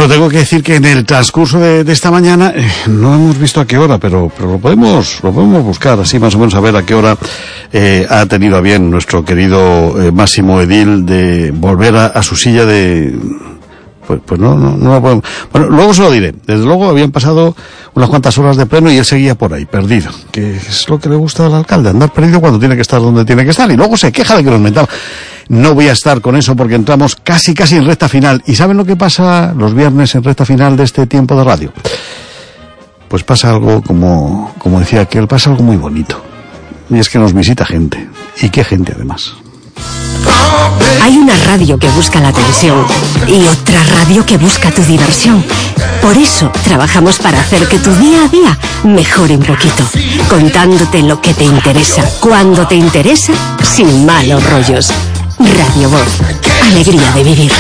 Bueno, tengo que decir que en el transcurso de esta mañana no hemos visto a qué hora, pero lo podemos buscar así más o menos a ver a qué hora ha tenido a bien nuestro querido Máximo Edil de volver a su silla de... Pues no lo podemos. Bueno, luego se lo diré. Desde luego habían pasado unas cuantas horas de pleno y él seguía por ahí, perdido. Que es lo que le gusta al alcalde, andar perdido cuando tiene que estar donde tiene que estar. Y luego se queja de que nos metamos. No voy a estar con eso porque entramos casi en recta final. ¿Y saben lo que pasa los viernes en recta final de este tiempo de radio? Pues pasa algo como decía aquel, pasa algo muy bonito. Y es que nos visita gente. ¿Y qué gente además? Hay una radio que busca la atención y otra radio que busca tu diversión. Por eso trabajamos para hacer que tu día a día mejore un poquito, contándote lo que te interesa, cuando te interesa, sin malos rollos. Radio Voz, alegría de vivir.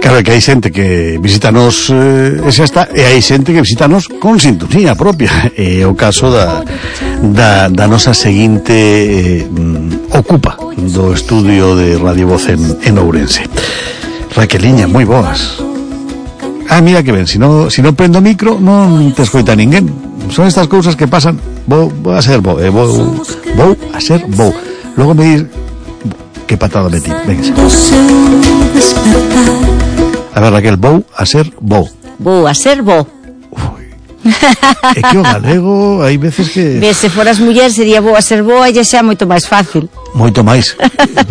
Claro que hai xente que visítanos e hai xente que visítanos con sintonía propia. É o caso da nosa seguinte ocupa do estudio de Radio Voz en Ourense. Raqueliña, moi boas. Mira que ben, si no prendo o micro non te escoita ninguén. Son estas cousas que pasan. Vou a ser bo, vou a ser bo. Logo me dis que patada metí. Venga. A ver, Raquel, vou a ser bo. Vou a ser bo. É que o galego hai veces que... Se foras muller sería vou a ser boa e xa moito máis fácil. Moito máis.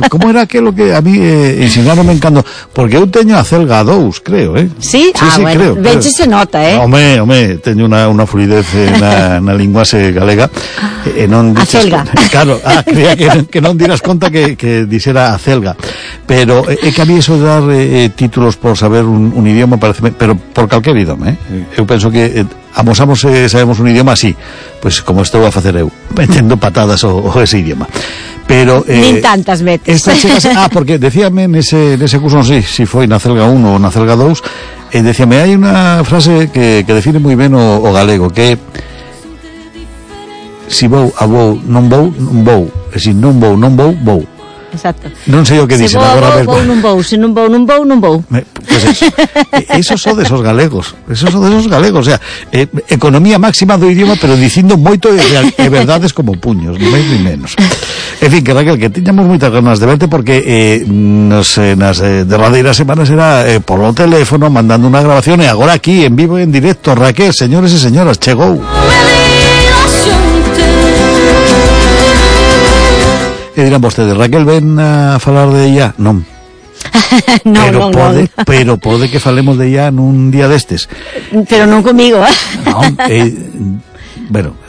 Como era aquilo que a mí ensinaronme encando? Porque eu teño a celga 2, creo, Sí? bueno, creo. Veche se nota, Home, teño unha fluidez na linguase galega. Non a celga. Claro, creía que non dirás conta que dixera a celga. Pero é que a mí eso de dar títulos por saber un idioma parece... Pero por calquer idioma, Eu penso que amosamos sabemos un idioma así, pois como estou a facer eu, metendo patadas o ese idioma. Pero nin tantas veces. Porque decíame nese curso, non sei se foi na celga 1 ou na celga 2, decíame, hai unha frase que define moi ben o galego, que si vou a vou, non vou, e se non vou, vou. Exacto. Non sei o que dicen agora mesmo. Se vou, se non vou. Pues eso son de esos galegos. O sea, economía máxima do idioma, pero dicindo moito de verdades como puños, ni máis ni menos. En fin, que Raquel, que tiñamos moitas ganas de verte porque nas derradeiras semanas era polo teléfono, mandando unha grabación, e agora aquí, en vivo e en directo. Raquel, señores e señoras, chegou. E dirán vostedes, Raquel, ven a falar de ella? Non. Pero pode que falemos de ella nun día destes. Pero non comigo, Non, bueno,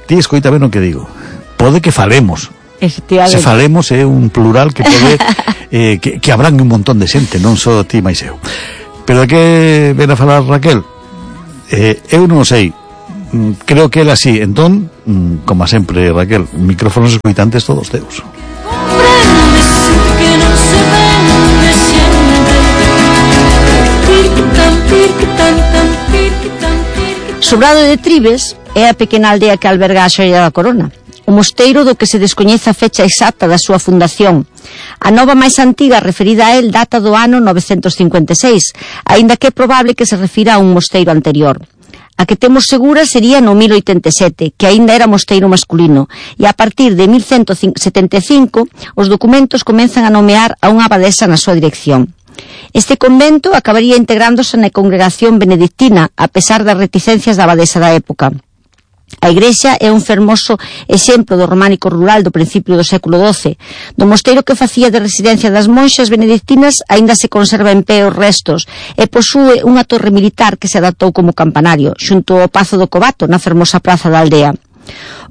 ti escoita ben o que digo. Pode que falemos. Se falemos é un plural que pode que abrangue un montón de xente, non só ti máis eu. Pero de que ven a falar Raquel? Eu non sei. Creo que era así. Entón, como sempre, Raquel, micrófonos escoitantes todos teus. Sobrado de Tribes é a pequena aldea que alberga a Xoia da Corona, o mosteiro do que se descoñece a fecha exacta da súa fundación. A nova máis antiga referida a el data do ano 956, aínda que é probable que se refira a un mosteiro anterior. A que temos segura sería no 1087, que aínda era mosteiro masculino, e a partir de 1175 os documentos comenzan a nomear a unha abadesa na súa dirección. Este convento acabaría integrándose na congregación benedictina, a pesar das reticencias da abadesa da época. A igrexa é un fermoso exemplo do románico rural do principio do século XII. Do mosteiro que facía de residencia das monxas benedictinas aínda se conserva en pé os restos e posúe unha torre militar que se adaptou como campanario, xunto ao Pazo do Covato, na fermosa praza da aldea.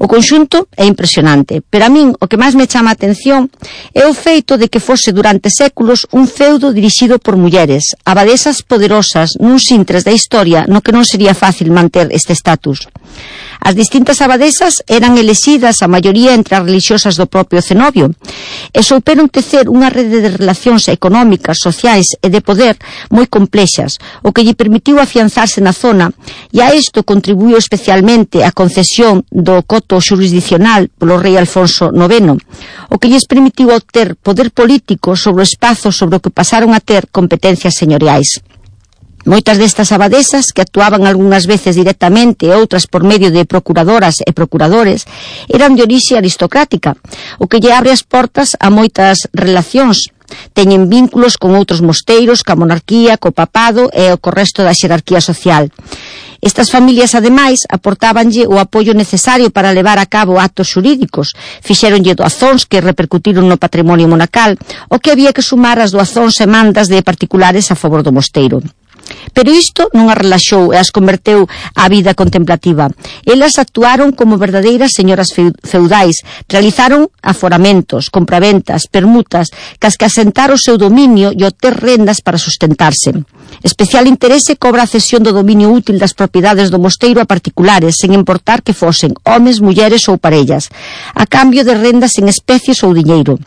O conxunto é impresionante, pero a min o que máis me chama a atención é o feito de que fose durante séculos un feudo dirixido por mulleres, abadesas poderosas nuns intres da historia no que non sería fácil manter este estatus. As distintas abadesas eran elexidas a maioría entre as religiosas do propio cenobio e souperon tecer unha rede de relacións económicas, sociais e de poder moi complexas, o que lle permitiu afianzarse na zona, e a isto contribuiu especialmente a concesión do do coto xurisdiccional polo rei Alfonso IX, o que lles permitiu obter poder político sobre o espazo sobre o que pasaron a ter competencias señoriais. Moitas destas abadesas, que actuaban algunhas veces directamente e outras por medio de procuradoras e procuradores, eran de orixe aristocrática, o que lle abre as portas a moitas relacións. Teñen vínculos con outros mosteiros, ca monarquía, co papado e co resto da xerarquía social. Estas familias, ademais, aportábanlle o apoio necesario para levar a cabo actos xurídicos, fixéronlle doazóns que repercutiron no patrimonio monacal, o que había que sumar as doazóns e mandas de particulares a favor do mosteiro. Pero isto non as relaxou e as converteu á vida contemplativa. Elas actuaron como verdadeiras señoras feudais, realizaron aforamentos, compraventas, permutas, cas que asentar o seu dominio e obter rendas para sustentarse. Especial interese cobra a cesión do dominio útil das propiedades do mosteiro a particulares, sen importar que fosen homes, mulleres ou parellas, a cambio de rendas en especies ou diñeiro.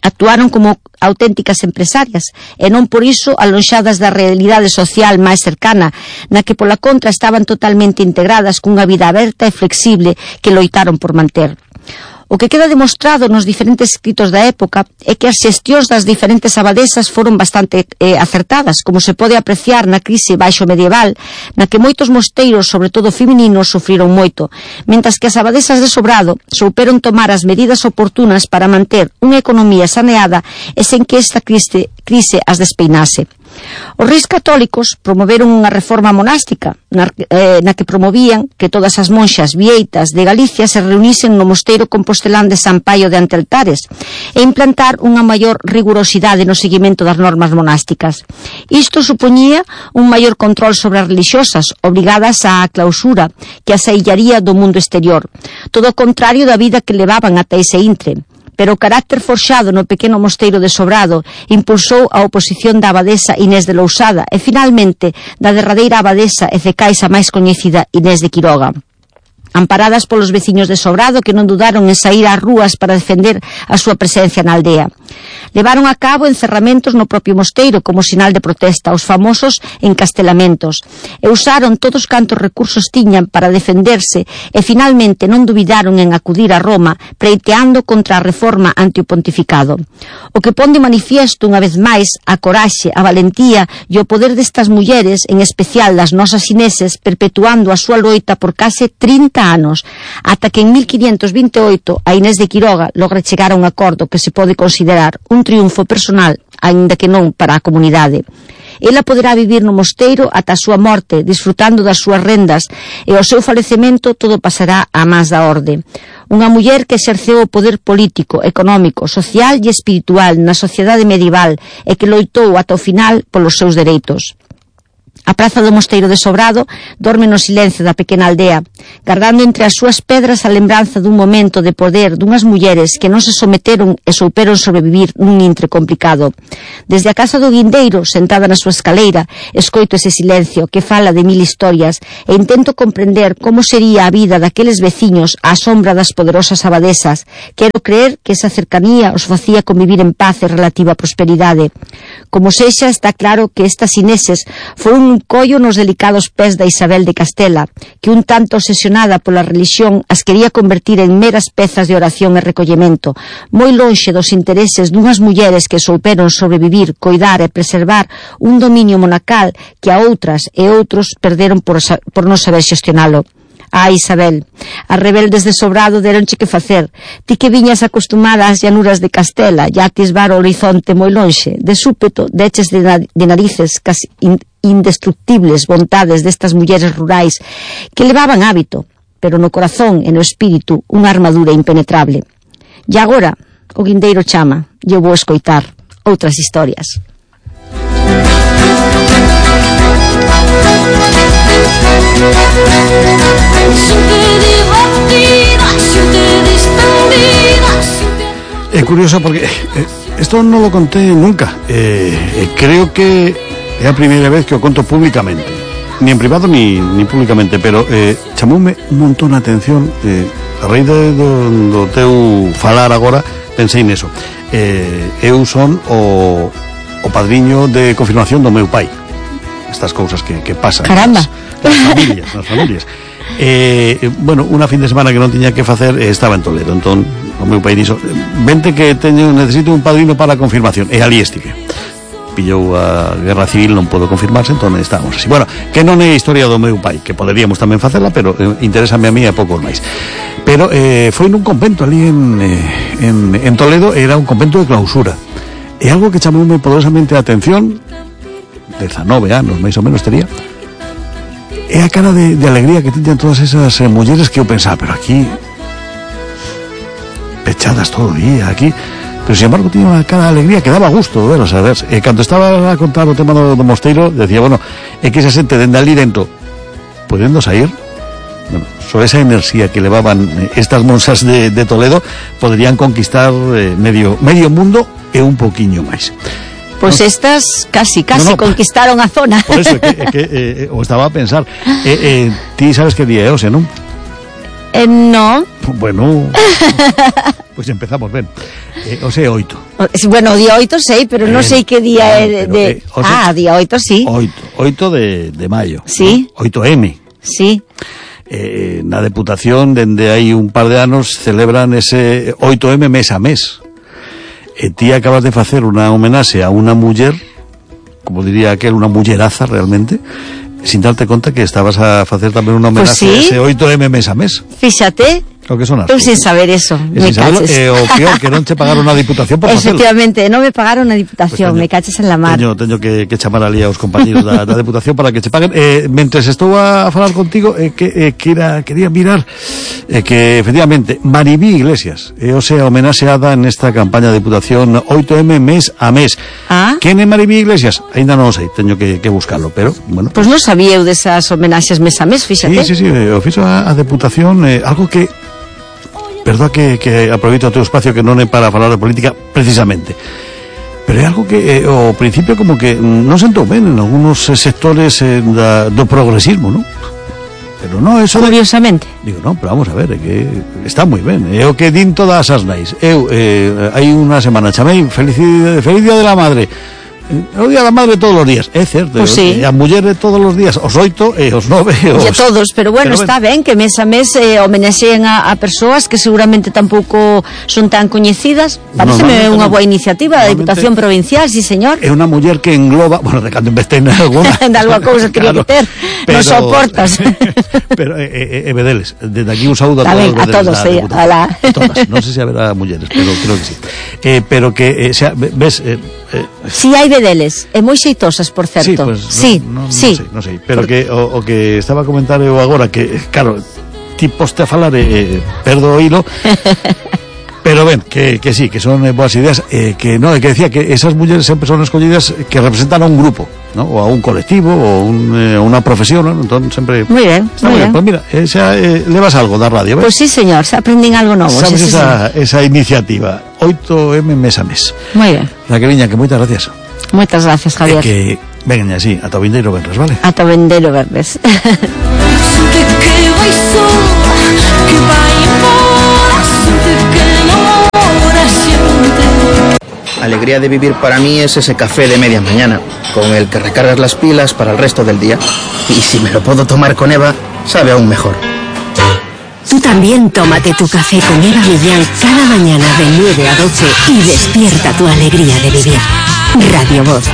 Actuaron como auténticas empresarias e non por iso alonxadas da realidade social máis cercana, na que pola contra estaban totalmente integradas cunha vida aberta e flexible que loitaron por manter. O que queda demostrado nos diferentes escritos da época é que as xestións das diferentes abadesas foron bastante acertadas, como se pode apreciar na crise baixo medieval, na que moitos mosteiros, sobre todo femininos, sufriron moito, mentras que as abadesas de Sobrado souperon tomar as medidas oportunas para manter unha economía saneada e sen que esta crise as despeinase. Os reis católicos promoveron unha reforma monástica na que promovían que todas as monxas vieitas de Galicia se reunisen no mosteiro compostelán de San Paio de Anteltares e implantar unha maior rigurosidade no seguimento das normas monásticas. Isto supoñía un maior control sobre as religiosas, obrigadas á clausura, que as aillaría do mundo exterior, todo o contrario da vida que levaban ata ese intre. Pero o carácter forxado no pequeno mosteiro de Sobrado impulsou a oposición da abadesa Inés de Lousada e, finalmente, da derradeira abadesa e cecais a máis coñecida Inés de Quiroga. Amparadas polos veciños de Sobrado, que non dudaron en saír ás rúas para defender a súa presencia na aldea. Levaron a cabo encerramentos no propio mosteiro como sinal de protesta, os famosos encastelamentos, e usaron todos cantos recursos tiñan para defenderse e finalmente non dubidaron en acudir a Roma pleiteando contra a reforma ante o pontificado. O que pon de manifiesto unha vez máis a coraxe, a valentía e o poder destas mulleres, en especial das nosas ineses, perpetuando a súa loita por case 30 anos, ata que en 1528 a Inés de Quiroga logra chegar a un acordo que se pode considerar un triunfo personal, aínda que non para a comunidade. Ela poderá vivir no mosteiro ata a súa morte, disfrutando das súas rendas, e ao seu falecemento todo pasará a más da orde. Unha muller que exerceu o poder político, económico, social e espiritual na sociedade medieval e que loitou ata o final polos seus dereitos. A praza do mosteiro de Sobrado dorme no silencio da pequena aldea, guardando entre as súas pedras a lembranza dun momento de poder dunhas mulleres que non se someteron e souperon sobrevivir nun intre complicado. Desde a casa do Guindeiro, sentada na súa escaleira, escoito ese silencio que fala de 1000 historias e intento comprender como sería a vida daqueles veciños á sombra das poderosas abadesas. Quero creer que esa cercanía os facía convivir en paz e relativa prosperidade. Como sexa, está claro que estas ineses foron un collo nos delicados pés da Isabel de Castela, que un tanto obsesionada pola religión as quería convertir en meras pezas de oración e recollemento, moi lonxe dos intereses dunhas mulleres que souperon sobrevivir, coidar e preservar un dominio monacal que a outras e outros perderon por non saber xestionalo. Isabel, as rebeldes de Sobrado deronche que facer. Ti que viñas acostumada ás llanuras de Castela e a atisbar o horizonte moi lonxe, de súpeto deches de narices casi indestructibles vontades destas mulleres rurais que levaban hábito, pero no corazón e no espírito unha armadura impenetrable. E agora o Guindeiro chama e eu vou escoitar outras historias. Es curioso porque esto no lo conté nunca. Creo que é a primeira vez que o conto públicamente, ni en privado ni públicamente, pero chamoume un montón a atención a raíz do teu falar agora. Pensei neso. Eu son o padriño de confirmación do meu pai. Estas cousas que pasan. Caramba. Nas familias. bueno, unha fin de semana que non tiña que facer, estaba en Toledo, entón o meu pai dixo, vente que necesito un padrino para a confirmación, e ali estive. Pillou a guerra civil, non podo confirmarse, entón estábamos así. Bueno, que non é a historia do meu pai, que poderíamos tamén facela, pero interésame a mí e a poucos máis. Pero foi nun convento ali en Toledo, era un convento de clausura. É algo que chamoume poderosamente a atención, 19 anos, máis ou menos tería, é a cara de alegría que tiñan todas esas mulleres que eu pensaba, pero aquí pechadas todo o día, aquí, pero sin embargo tiña unha cara de alegría que daba gusto veros, a ver, cando estaba a contar o tema do mosteiro, decía, bueno, é que esa xente dende ali dentro podendo sair, bueno, sobre esa enerxía que levaban estas monxas de Toledo, poderían conquistar medio mundo e un poquiño máis. Pois estas casi conquistaron a zona. Por eso que o estaba a pensar, ti sabes que día é hoxe, non? Non. Bueno, pois empezamos ben. Hoxe é 8. Bueno, o día 8 sei, pero non sei que día é de... día 8 sí. 8 de maio. Sí. 8M. Sí. Na Deputación, dende hai un par de anos, celebran ese 8M mes a mes. Ti acabas de facer unha homenaxe a unha muller, como diría aquel, unha mulleraza realmente, sin darte conta que estabas a facer tamén unha homenaxe a ese 8M mes a mes. Fíxate. O que son as eu sin saber eso, me caches. O peor, que non che pagaron a Diputación por facelo. Efectivamente, non me pagaron a Diputación, pues me caches en la mar. Teño que chamar ali aos compañeros da Deputación para que che paguen. Mentres estou a falar contigo, quería mirar que, efectivamente, Maribí Iglesias é homenaxeada nesta campaña de Deputación 8M mes a mes. Quen é Maribí Iglesias? Ainda non o sei, teño que buscarlo, pero, bueno. Pois non sabía eu desas homenaxes mes a mes, fíxate. Sí, o fixo a Deputación, algo que... Perdón que aproveito o teu espacio, que non é para falar de política precisamente, pero é algo que ao principio como que non sentou ben en algunos sectores do progresismo, non? Pero non, eso... Curiosamente. Digo, non, pero vamos a ver, é que está moi ben, é o que din todas as nais. Eu, hai unha semana chamei Feliz Día de la Madre, o Día da Madre todos os días, é certo, pues sí. A muller todos os días, os 8 e os 9 e a todos, pero bueno, está ben que mes a mes homenexeen a persoas que seguramente tampouco son tan coñecidas. Pareceme unha boa iniciativa da Diputación Provincial, sí señor. É unha muller que engloba, bueno, de cando investe en alguna de alguna cousa quería meter, non soportas. Pero Bedeles, desde aquí un saúdo a todos, a todos, sí, a todas, non sei se haberá mulleres, pero creo que sí. Pero que, ves... Si hai Bedeles, e moi xeitosas, por certo. Sí, non sei, pero que o que estaba a comentar eu agora, que, claro, ti poste a falar perdo o hilo, pero ben, que sí, que son boas ideas, que non, que decía que esas mulleres sempre son escollidas que representan a un grupo, ¿no? O a un colectivo, ou unha profesión, ¿no? Entón sempre... Moi ben, moi ben. Pues mira, levas algo da radio, ¿ves? Pues sí, señor, se aprendín algo novo. Sabes esa iniciativa, 8M mes a mes. Moi ben. Raqueliña, que moitas gracias. Moitas gracias, Javier. Que vengan así, ata o vindeiro venres, vale? Ata o vindeiro venres. Alegría de vivir para mí es ese café de media mañana, con el que recargas las pilas para el resto del día. Y si me lo puedo tomar con Eva, sabe aún mejor. Tú también tómate tu café con Eva Millán cada mañana de 9 a 12 y despierta tu alegría de vivir. Radio Voz.